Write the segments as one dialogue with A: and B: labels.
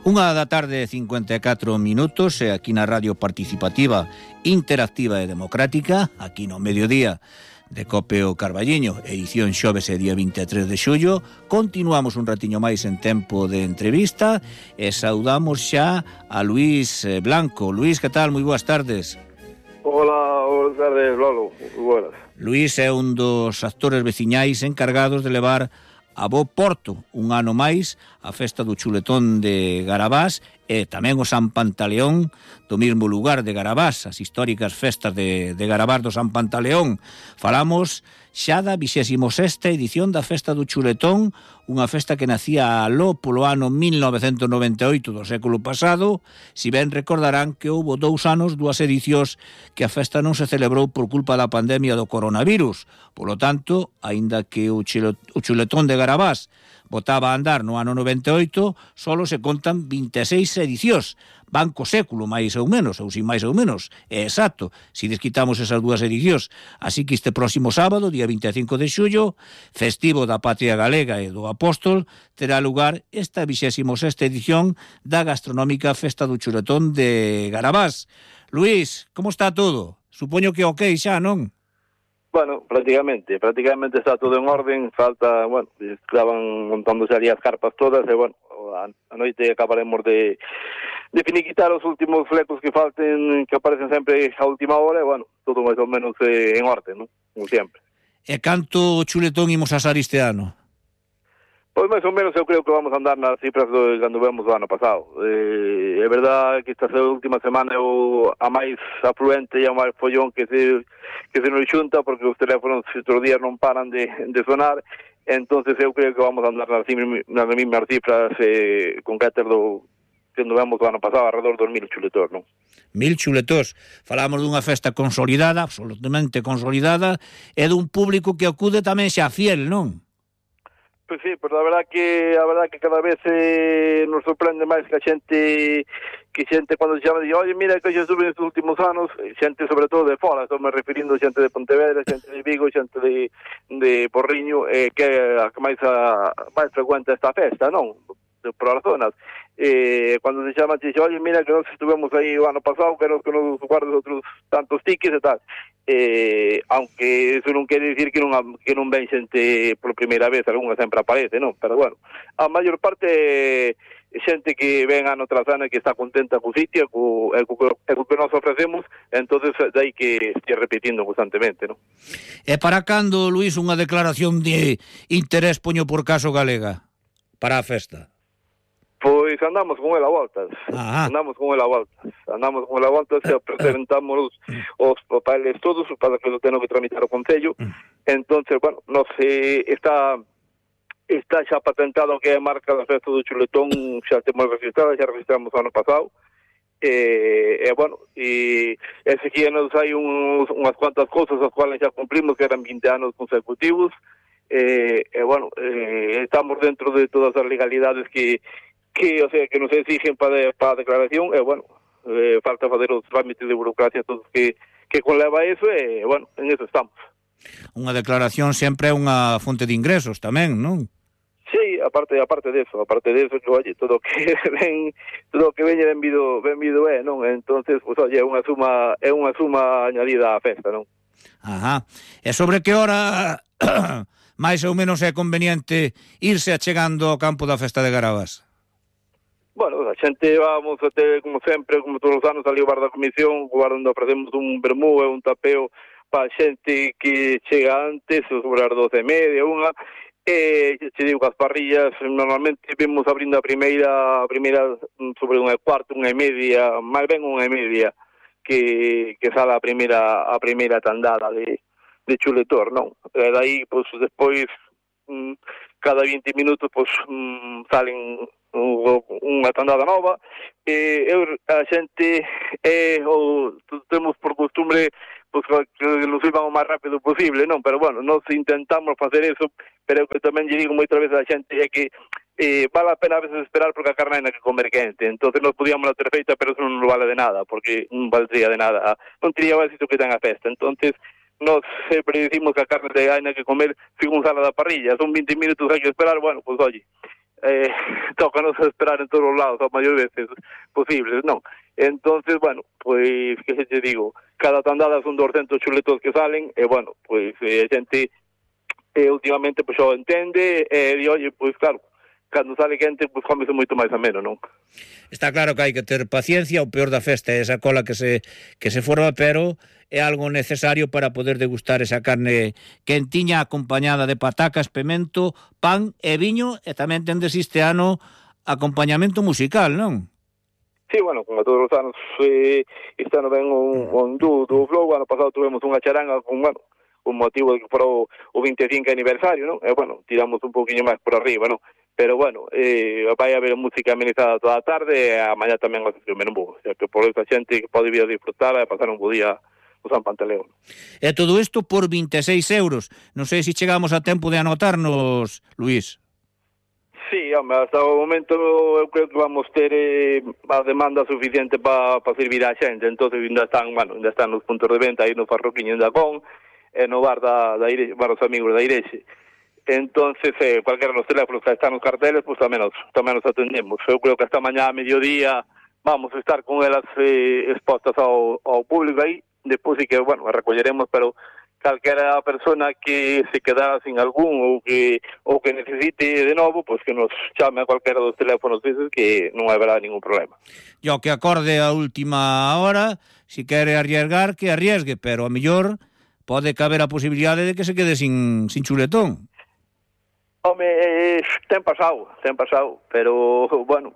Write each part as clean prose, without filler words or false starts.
A: Unha da tarde, 54 minutos, aquí na Radio Participativa, Interactiva e Democrática, aquí no mediodía de Cope o Carballiño, edición xoves e día 23 de xullo. Continuamos un ratiño máis en tempo de entrevista e saudamos xa a Luís Blanco. Luís, que tal? Moi boas tardes.
B: Hola, boas tardes, Lolo. Buenas.
A: Luís é un dos actores veciñais encargados de levar a bo porto un ano máis a festa do chuletón de Garabás e tamén o San Pantaleón do mesmo lugar de Garabás, as históricas festas de Garabás do San Pantaleón. Falamos xa da 26ª edición da festa do chuletón, unha festa que nacía aló polo ano 1998 do século pasado. Si ben recordarán que houbo 2 anos, 2 edicións, que a festa non se celebrou por culpa da pandemia do coronavirus. Polo tanto, aínda que o chuletón de Garabás botaba a andar no ano 98, solo se contan 26 edicións. Van co século, máis ou menos, ou sin máis ou menos. É exacto, si desquitamos esas 2 edicións. Así que este próximo sábado, día 25 de xullo, festivo da Patria Galega e do Apóstol, terá lugar esta 26ª edición da gastronómica Festa do Chuletón de Garabás. Luís, como está todo? Supoño que ok xa, non?
B: Bueno, prácticamente está todo en orden. Falta, bueno, estaban montándose ali as carpas todas e, bueno, a noite acabaremos de finiquitar os últimos flecos que falten, que aparecen sempre a última hora e, bueno, todo máis ou menos en orden, non? Como sempre.
A: E canto chuletón imos asar este ano?
B: Pois máis ou menos eu creo que vamos a andar nas cifras do cando vemos o ano pasado. É verdade que esta última semana é a máis afluente e a máis follón que se nos xunta, porque os teléfonos estes días non paran de sonar. Entonces eu creo que vamos a andar nas mesmas cifras con carácter do que nos vemos o ano pasado, alrededor dos 1000 chuletós, non?
A: 1000 chuletós. Falamos dunha festa consolidada, absolutamente consolidada, e dun público que acude tamén xa fiel, non?
B: Pois sí, pero a verdad que cada vez nos sorprende máis que a xente cando se chama dice, oye, mira que xa estuve nestes últimos anos, xente sobre todo de fora, estou me referindo xente de Pontevedra, xente de Vigo, xente de Porriño, que é a que máis frecuenta esta festa, non? Por as zonas. Cando se chama, dice, oye, mira que nós estuvemos aí o ano pasado, que nos guardes outros tantos tickets e tal. Aunque eso non quere dicir que non ven xente por primeira vez, algunha sempre aparece, non? Pero bueno, a maior parte xente que ven ano tras ano e que está contenta co sitio, co que nos ofrecemos, entonces dai que estea repetindo constantemente, non?
A: E para cando, Luís, unha declaración de interés, poño por caso, galega para a festa?
B: Pois andamos con ela a voltas. Andamos con ela a voltas e presentamos os papeles todos para que lo teño que tramitar o Concello. Entonces, bueno, nos está xa patentado que é a marca da festa do chuletón, xa temos registrada, xa registramos o ano pasado. Bueno, e seguíanos hai unhas cuantas cousas as cuales xa cumplimos, que eran 20 anos consecutivos. Bueno, estamos dentro de todas as legalidades que o sea, que nos exigen para a declaración, bueno, falta fazer os trámites de burocracia todos que conleva eso, bueno, en eso estamos.
A: Unha declaración sempre é unha fonte de ingresos tamén, non?
B: Sí, aparte de eso, que, oye, todo que veñe benvido non? Entonces, pues, oye, é unha suma añadida á festa, non?
A: Ajá. E sobre que hora máis ou menos é conveniente irse achegando ao campo da festa de Garabás?
B: Bueno, a xente vamos a ter, como sempre, como todos os anos, ali ao bar da comisión, o bar onde ofrecemos un vermú e un tapeo para a xente que chega antes, sobre as 12:30, unha, che digo que as parrillas, normalmente vemos abrindo a primeira sobre 1:15, 1:30, máis ben 1:30, que sale a primeira tandada de chuletor, non? E dai, pois, despois, cada 20 minutos, pois, salen unha tandada nova. A xente temos por costumbre pues, que nos iban o máis rápido posible, non? Pero bueno, nós intentamos facer eso, pero que tamén lle digo moitas veces a xente é que vale a pena a veces esperar porque a carne hai que comer quente. Entonces nos podíamos la ter feita, pero eso non vale de nada, porque non valdría de nada, non tería o éxito que ten a festa. Entonces nos sempre dicimos que a carne hai que comer según sala da parrilla, son 20 minutos hai que esperar, bueno, pues oye, tócanos esperar en todos os lados a maior veces posibles, non? Entonces, bueno, pois, que se te digo, cada tandada son 200 chuletos que salen, e, bueno, pois, a xente últimamente, pois, o entende, e, oye, pois, claro, cando sale gente, pois, comese moito máis ameno, non?
A: Está claro que hai que ter paciencia, o peor da festa é esa cola que se forma, pero é algo necesario para poder degustar esa carne quentiña acompañada de patacas, pemento, pan e viño, e tamén tendes este ano acompañamento musical, non?
B: Sí, bueno, como todos os anos, este ano ven un do Flow, ano pasado tuvemos unha charanga con, bueno, un motivo de que fora o 25 aniversario, non? E, bueno, tiramos un poquinho máis por arriba, non? Pero, bueno, vai haber música amenizada toda a tarde, e a mañá tamén o menú, o sea, que por esa xente que pode vir a disfrutar e pasar un bo día o San Pantaleón.
A: E todo isto por 26 euros. Non sei se chegamos a tempo de anotarnos, Luís.
B: Sí, home, hasta o momento eu creo que vamos ter a demanda suficiente para servir a xente, entonces ainda están nos puntos de venta aí no Farroquiño en Dacón, e no bar da Irexe, bar os amigos da Irexe. Entonces, cualquiera dos teléfonos que están nos carteles, pues tamén nos atendemos. Eu creo que hasta mañá a mediodía vamos a estar con elas expostas ao público aí. Despois sí que, bueno, recolleremos, pero calquera persona que se quedara sin algún ou que necesite de novo, pues que nos chame a calquera dos teléfonos deses, que non haberá ningún problema.
A: Yo que acorde a última hora, si quere arriesgar, que arriesgue, pero a mellor pode caber a posibilidade de que se quede sin chuletón.
B: Home, ten pasado, pero, bueno,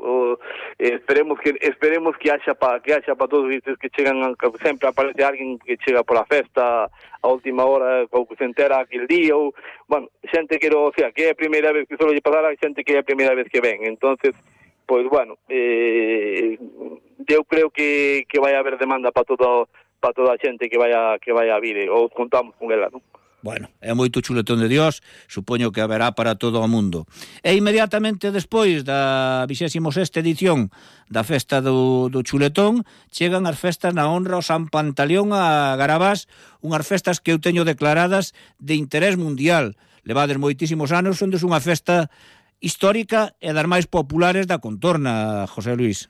B: esperemos que haxa pa todos estes que chegan, que sempre aparece alguén que chega pola festa a última hora, ou que se entera aquel día, ou, bueno, xente que, o sea, que é a primeira vez que solo lle pasar a xente que é a primeira vez que ven, entonces, pois, bueno, eu creo que vai haber demanda para toda a xente que vai a vir, ou contamos con ela, non?
A: Bueno, é moito chuletón de Dios, supoño que haberá para todo o mundo. E inmediatamente despois da 26ª edición da festa do chuletón, chegan as festas na honra ao San Pantaleón a Garabás, unhas festas que eu teño declaradas de interés mundial. Levades moitísimos anos, onde é unha festa histórica e das máis populares da contorna, José Luis.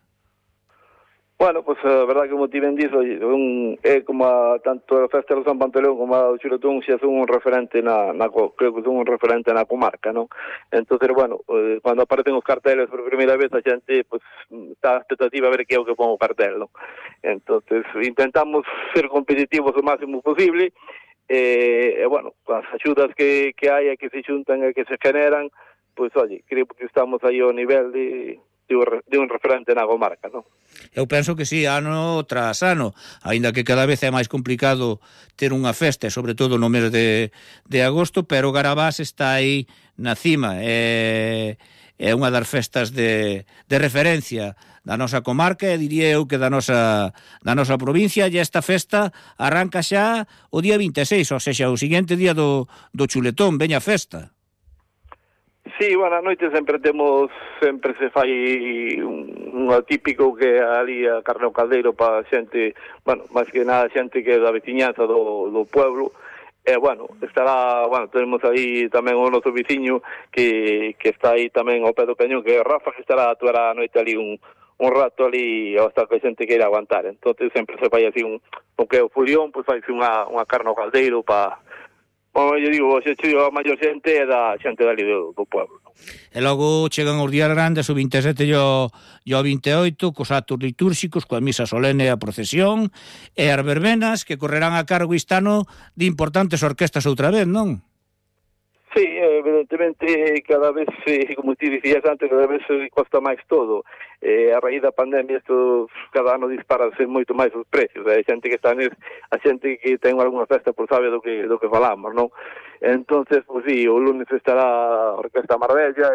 B: Bueno, pues a verdad que como ti ben dizo, é como tanto a festa do San Pantaleón como a do Chuletón xa son un referente creo que son un referente na comarca, non? Entonces, bueno, cando aparecen os carteles por primeira vez, a xente pues está a expectativa a ver que é o que pon o cartel, non? Entonces, intentamos ser competitivos o máximo posible, e bueno, as axudas que hai e que se xuntan e que se generan, pues, oye, creo que estamos aí ao nivel de un referente na comarca, non?
A: Eu penso que sí, ano tras ano, aínda que cada vez é máis complicado ter unha festa, sobre todo no mes de agosto, pero Garabás está aí na cima, é unha das festas de referencia da nosa comarca, e diría eu que da nosa provincia, e esta festa arranca xa o día 26, ou seja, o seguinte día do chuletón, veña festa.
B: Sí, bueno, a noite sempre se fai un atípico que ali a carne ao caldeiro para xente, bueno, máis que nada xente que é da veciñanza do pueblo, e, bueno, tenemos aí tamén o noso veciño que está aí tamén ao pé do cañón, que é Rafa, que estará a actuar a noite ali un rato ali hasta que a xente queira aguantar, entonces sempre se fai así o que é o fulión, pois faise unha carne ao caldeiro para... Como eu digo, a maior xente é da xente dali do pueblo.
A: E logo chegan os días grandes, o 27 e o 28, cos actos litúrxicos, coa misa solene e a procesión, e as verbenas que correrán a cargo este ano de importantes orquestas outra vez, non?
B: Sí, evidentemente, cada vez, como ti dicías antes, cada vez costa máis todo. A raíz da pandemia, isto cada ano disparase moito máis os precios. A xente que ten algunha festa, por sabe do que falamos, non? Entonces, pues sí, o lunes estará a Orquesta Marbella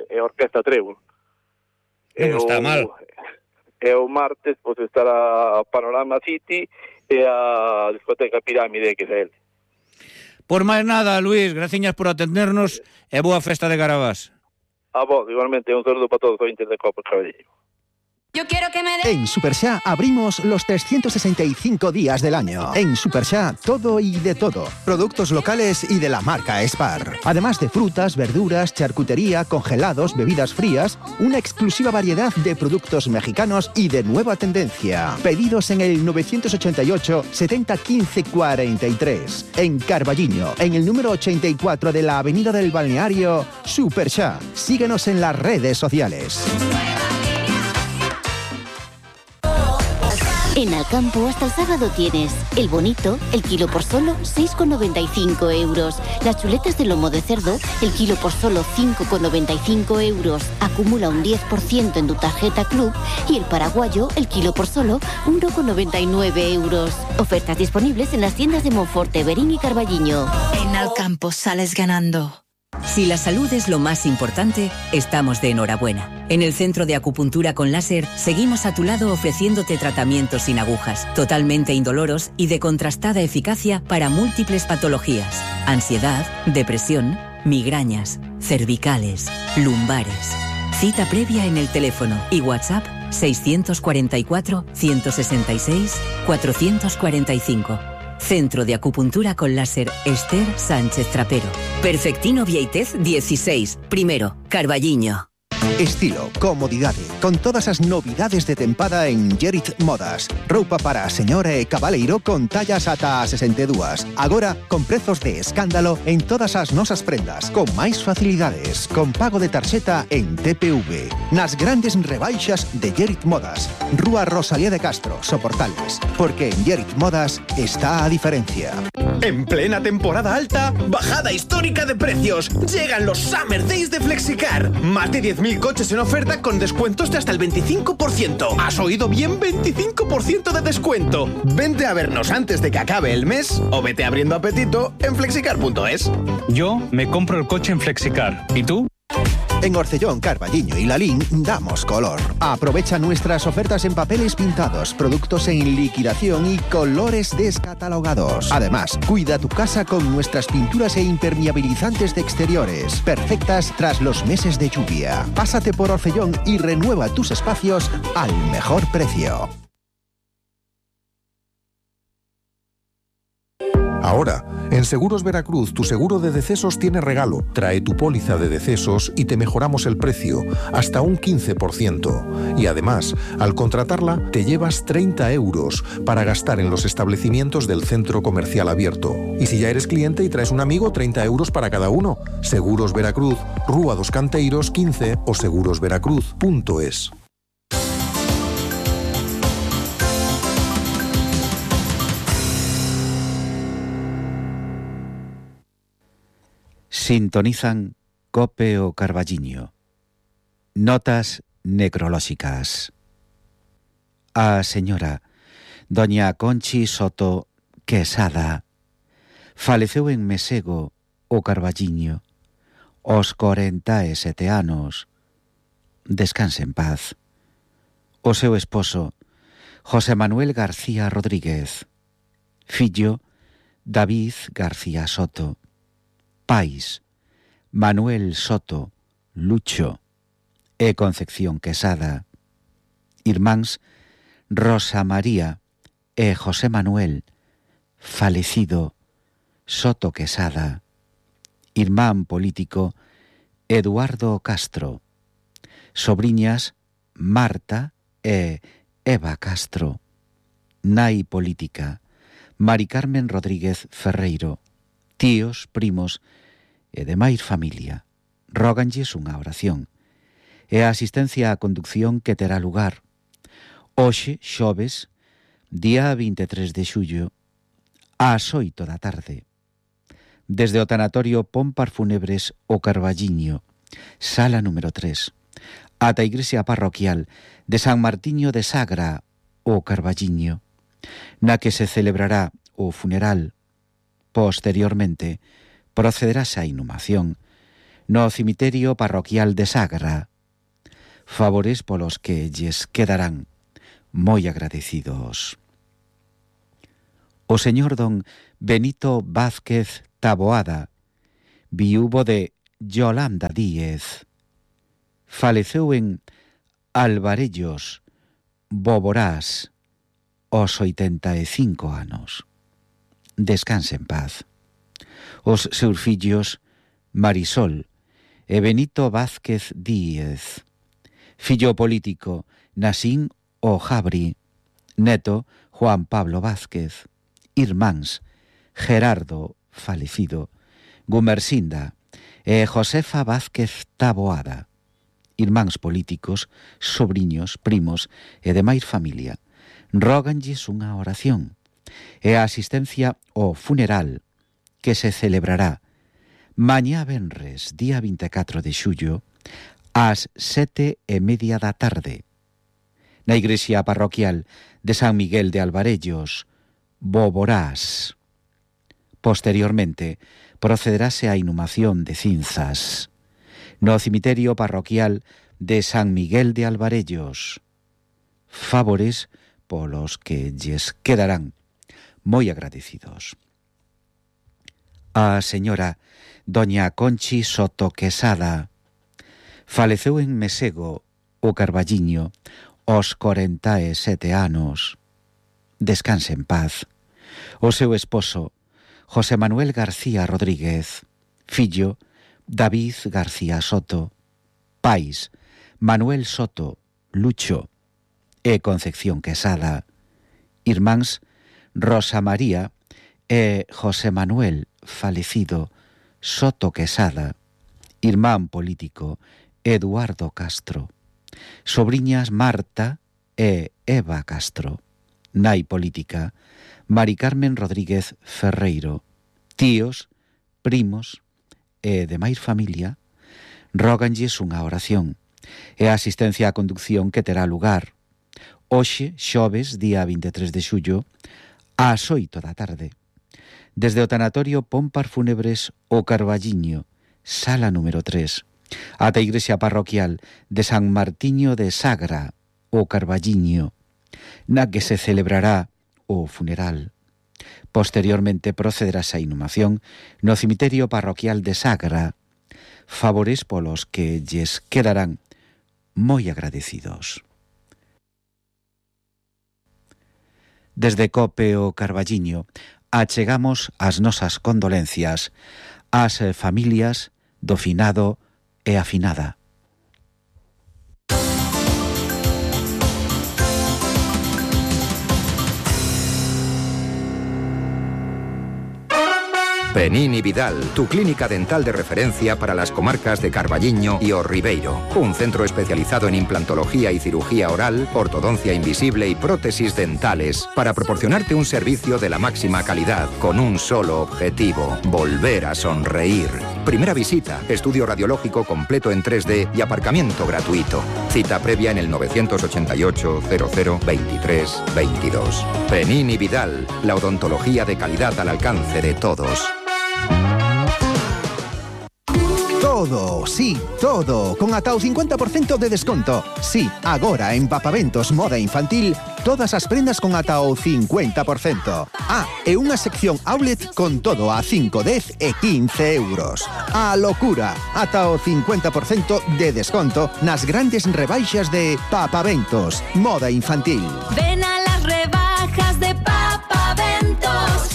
B: e a Orquesta Trébol.
A: Non está mal.
B: E o martes, pues estará a Panorama City e a discoteca Pirámide XL.
A: Por máis nada, Luís, graciñas por atendernos e boa festa de Garabás.
B: A vos, igualmente, un saludo para todos os ointes de Copa Caballero.
C: Yo quiero que me den.
D: En Superxa abrimos los 365 días del año. En Superxa, todo y de todo. Productos locales y de la marca Spar. Además de frutas, verduras, charcutería, congelados, bebidas frías, una exclusiva variedad de productos mexicanos y de nueva tendencia. Pedidos en el 988 70 15 43. En Carballiño, en el número 84 de la Avenida del Balneario, Superxa. Síguenos en las redes sociales.
E: En Alcampo hasta el sábado tienes el bonito, el kilo por solo 6,95 euros. Las chuletas de lomo de cerdo, el kilo por solo 5,95 euros. Acumula un 10% en tu tarjeta Club y el paraguayo, el kilo por solo 1,99 euros. Ofertas disponibles en las tiendas de Monforte, Berín y Carballiño.
C: En Alcampo sales ganando.
F: Si la salud es lo más importante, estamos de enhorabuena. En el Centro de Acupuntura con Láser seguimos a tu lado ofreciéndote tratamientos sin agujas, totalmente indoloros y de contrastada eficacia para múltiples patologías: ansiedad, depresión, migrañas, cervicales, lumbares. Cita previa en el teléfono y WhatsApp 644 166 445. Centro de Acupuntura con Láser Esther Sánchez Trapero. Perfectino Vieitez 16, primero, Carballiño.
D: Estilo, comodidade, con todas as novidades de tempada en Gerit Modas. Roupa para a señora e cabaleiro con tallas ata 62. Agora, con prezos de escándalo en todas as nosas prendas, con máis facilidades, con pago de tarxeta en TPV. Nas grandes rebaixas de Gerit Modas. Rúa Rosalía de Castro, Soportales. Porque en Gerit Modas está a diferencia.
G: En plena temporada alta, bajada histórica de precios. Llegan los Summer Days de Flexicar. Más de 10.000 coches en oferta con descuentos de hasta el 25%. ¿Has oído bien? 25% de descuento. Vente a vernos antes de que acabe el mes o vete abriendo apetito en flexicar.es.
H: Yo me compro el coche en Flexicar. ¿Y tú?
D: En Orcellón, Carballiño y Lalín damos color. Aprovecha nuestras ofertas en papeles pintados, productos en liquidación y colores descatalogados. Además, cuida tu casa con nuestras pinturas e impermeabilizantes de exteriores, perfectas tras los meses de lluvia. Pásate por Orcellón y renueva tus espacios al mejor precio.
I: Ahora, en Seguros Veracruz, tu seguro de decesos tiene regalo. Trae tu póliza de decesos y te mejoramos el precio, hasta un 15%. Y además, al contratarla, te llevas 30 euros para gastar en los establecimientos del centro comercial abierto. Y si ya eres cliente y traes un amigo, 30 euros para cada uno. Seguros Veracruz, Rúa dos Canteiros 15 o segurosveracruz.es.
J: Sintonizan Cope o Carballiño. Notas necrolóxicas. A señora doña Conchi Soto Quesada faleceu en Mesego o Carballiño aos 47 anos. Descanse en paz. O seu esposo, José Manuel García Rodríguez. Fillo, David García Soto. Pais, Manuel Soto, Lucho e Concepción Quesada. Irmáns, Rosa María e José Manuel, falecido, Soto Quesada. Irmán político, Eduardo Castro. Sobriñas, Marta e Eva Castro. Nai política, Mari Carmen Rodríguez Ferreiro. Tíos, primos e demais familia róganlles unha oración e a asistencia á conducción que terá lugar hoxe, xoves, día 23 de xullo, ás 8 da tarde, desde o tanatorio Pompar Funebres o Carballiño, sala número 3, ata a igrexa parroquial de San Martiño de Sagra o Carballiño, na que se celebrará o funeral. Posteriormente, procederase a inhumación no cemiterio parroquial de Sagra, favores polos que lles quedarán moi agradecidos. O señor don Benito Vázquez Taboada, viúvo de Yolanda Díez, faleceu en Alvarellos Boborás, os 85 anos. Descanse en paz. Os seus fillos Marisol e Benito Vázquez Díez. Fillo político Nasín Ojabri. Neto Juan Pablo Vázquez. Irmáns Gerardo, falecido, Gumersinda e Josefa Vázquez Taboada. Irmáns políticos, sobriños, primos e demais familia. Róganlles unha oración e a asistencia ao funeral que se celebrará mañá venres, día 24 de xullo, ás 7:30 da tarde, na igrexa parroquial de San Miguel de Alvarellos, Boborás. Posteriormente, procederase a inhumación de cinzas no cemiterio parroquial de San Miguel de Alvarellos. Favores polos que lles quedarán moi agradecidos. A señora doña Conchi Soto Quesada faleceu en Mesego, o Carballiño, aos 47 anos. Descanse en paz. O seu esposo, José Manuel García Rodríguez, fillo, David García Soto, pais, Manuel Soto, Lucho e Concepción Quesada, irmáns, Rosa María e José Manuel, falecido, Soto Quesada, irmán político, Eduardo Castro, sobriñas Marta e Eva Castro, nai política, Mari Carmen Rodríguez Ferreiro, tíos, primos e demais familia, róganlles unha oración e a asistencia á conducción que terá lugar hoxe, xoves, día 23 de xullo, ás 8 da tarde, desde o tanatorio Pompar Fúnebres o Carballiño, sala número 3, ata a igrexa parroquial de San Martiño de Sagra, o Carballiño, na que se celebrará o funeral. Posteriormente procederase a inhumación no cemiterio parroquial de Sagra. Favores polos que lles quedarán moi agradecidos. Desde COPE o Carballiño achegamos as nosas condolencias ás familias do finado e a finada.
K: Penini Vidal, tu clínica dental de referencia para las comarcas de Carballiño y O Ribeiro. Un centro especializado en implantología y cirugía oral, ortodoncia invisible y prótesis dentales para proporcionarte un servicio de la máxima calidad con un solo objetivo: volver a sonreír. Primera visita, estudio radiológico completo en 3D y aparcamiento gratuito. Cita previa en el 988 00 23 22. Penini Vidal, la odontología de calidad al alcance de todos.
D: Todo, sí, todo, con ata o 50% de desconto. Sí, agora en Papaventos Moda Infantil, todas as prendas con ata o 50%. Ah, e unha sección outlet con todo a 5, 10 e 15 euros. A locura, ata o 50% de desconto nas grandes rebaixas de Papaventos Moda Infantil.
C: Ven a las rebajas de Papaventos.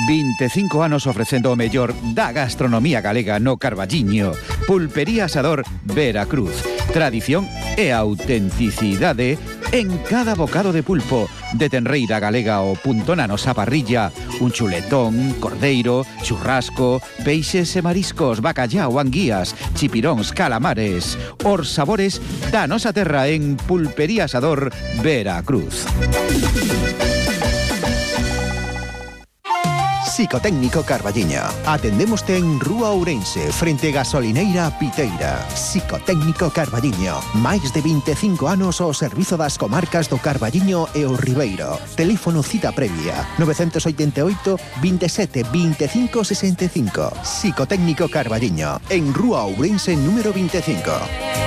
J: 25 anos ofrecendo o mellor da gastronomía galega no Carballiño. Pulpería Asador Veracruz. Tradición e autenticidade en cada bocado de pulpo. De tenreira galega ao punto na nosa parrilla. Un chuletón, cordeiro, churrasco, peixes e mariscos, bacallao, anguías, chipiróns, calamares. Os sabores da nosa terra en Pulpería Asador Veracruz.
D: Psicotécnico Carballiño. Atendémoste en Rúa Ourense, frente Gasolineira Piteira. Psicotécnico Carballiño. Máis de 25 anos ao servizo das comarcas do Carballiño e o Ribeiro. Teléfono cita previa 988 27 25 65. Psicotécnico Carballiño. En Rúa Ourense número 25.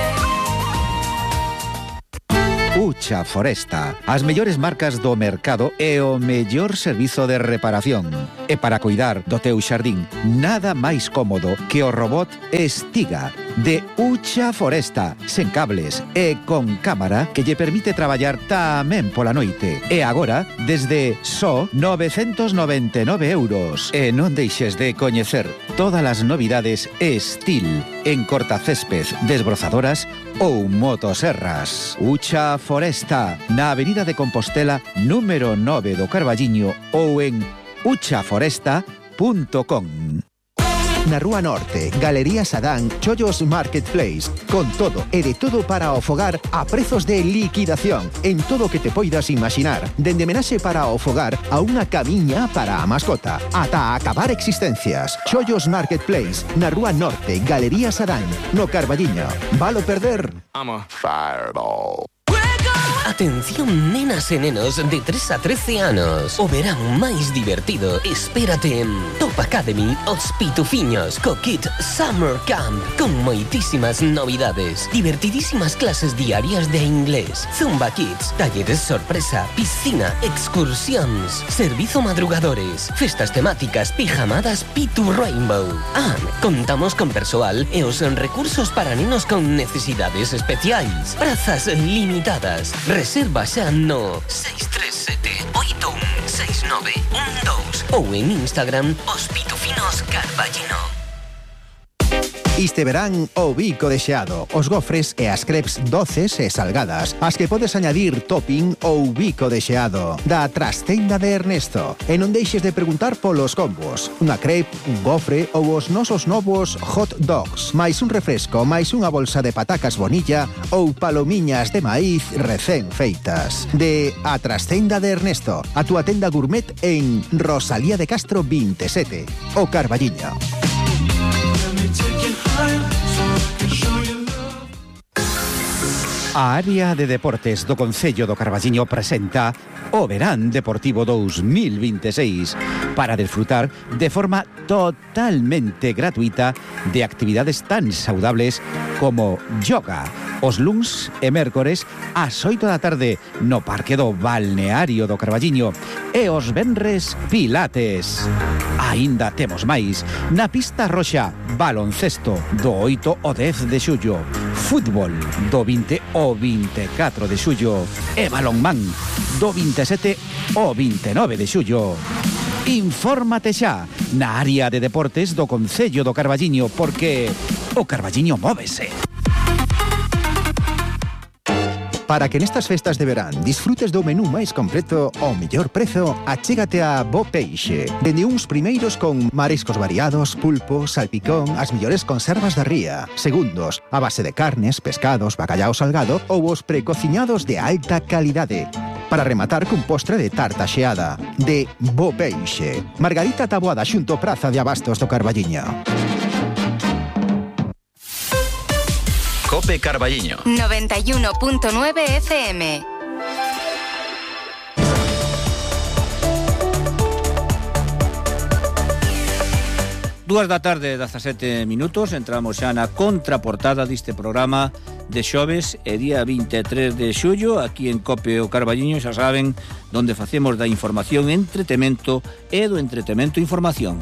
D: Ucha Foresta, as mellores marcas do mercado e o mellor servizo de reparación. E para cuidar do teu xardín, nada máis cómodo que o robot Estiga de Ucha Foresta, sen cables e con cámara que lle permite traballar tamén pola noite. E agora, desde só 999 euros. E non deixes de coñecer todas as novidades Estil en cortacésped, desbrozadoras ou motoserras. Ucha Foresta, na Avenida de Compostela, número 9 do Carballiño ou en uchaforesta.com. Na Rúa Norte, Galería Sadán, Chollos Marketplace, con todo e de todo para o fogar a prezos de liquidación en todo o que te poidas imaginar, dende menaxe para o fogar a unha camiña para a mascota, ata acabar existencias. Chollos Marketplace, na Rúa Norte, Galería Sadán, no Carballiño. Valo perder?
L: I'm a fireball. Atención nenas e nenos de 3 a 13 anos. O verán máis divertido espérate en Top Academy Os Pitufiños co Kit Summer Camp, con moitísimas novidades, divertidísimas clases diarias de inglés, Zumba Kids, talleres sorpresa, piscina, excursións, servizo madrugadores, festas temáticas, pijamadas Pitu Rainbow. Contamos con persoal e os recursos para nenos con necesidades especiais. Prazas limitadas. Reserva xa no 637-816912 ou en Instagram Os Pitufinos Carballino.
D: Este verán o bico de xeado, os gofres e as crepes doces e salgadas, as que podes añadir topping ou bico de xeado, da Trastenda de Ernesto. E non deixes de preguntar polos combos, unha crepe, un gofre ou os nosos novos hot dogs, máis un refresco, máis unha bolsa de patacas bonilla ou palomiñas de maíz recén feitas. De A Trastenda de Ernesto, a túa tenda gourmet en Rosalía de Castro 27, o Carballiño. A área de deportes do Concello do Carballiño presenta o Verán Deportivo 2026 para desfrutar de forma totalmente gratuita de actividades tan saudables como yoga, os luns e mércores ás 8 da tarde no Parque do Balneario do Carballiño e os venres pilates. Aínda temos máis na pista roxa, baloncesto do 8 ao 10 de xullo, fútbol do 20 ao 24 de xullo e balonmán do 27 ao 29 de xullo. Infórmate xa na área de deportes do Concello do Carballiño porque o Carballiño móvese. Para que nestas festas de verán disfrutes do menú máis completo ao mellor prezo, achégate a Bo Peixe. Dende uns primeiros con mariscos variados, pulpo, salpicón, as mellores conservas da ría. Segundos, a base de carnes, pescados, bacallao salgado ou os precociñados de alta calidade. Para rematar cun postre de tarta xeada. De Bo Peixe. Margarita Taboada xunto Praza de Abastos do Carballiño.
M: Cope Carballiño
C: 91.9 FM.
A: Dúas da tarde, 17 minutos, entramos xa na contraportada deste programa de xoves e día 23 de xullo, aquí en Cope o Carballiño, xa saben, donde facemos da información entretemento e do entretemento información.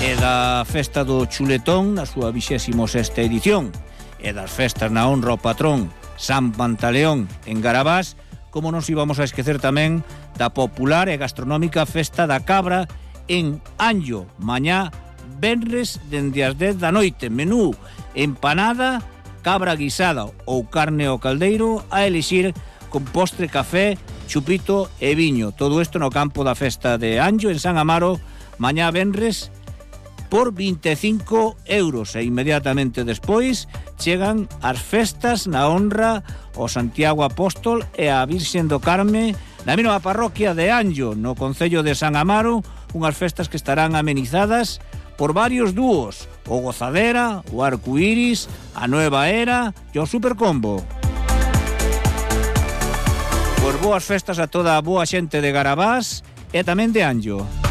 A: E da festa do chuletón na súa 26ª edición e das festas na honra ao patrón San Pantaleón en Garabás, como nos íbamos a esquecer tamén da popular e gastronómica festa da cabra en Anllo, mañá venres dende as 10 da noite, menú empanada, cabra guisada ou carne ao caldeiro a elixir con postre, café, chupito e viño. Todo isto no campo da festa de Anllo en San Amaro, mañá venres por 25 euros e inmediatamente despois chegan as festas na honra ao Santiago Apóstol e a Virxen do Carme na mesma parroquia de Anllo, no concello de San Amaro, unhas festas que estarán amenizadas por varios dúos, o Gozadera, o Arcoíris, a Nueva Era e o Supercombo. Pois boas festas a toda a boa xente de Garabás e tamén de Anllo.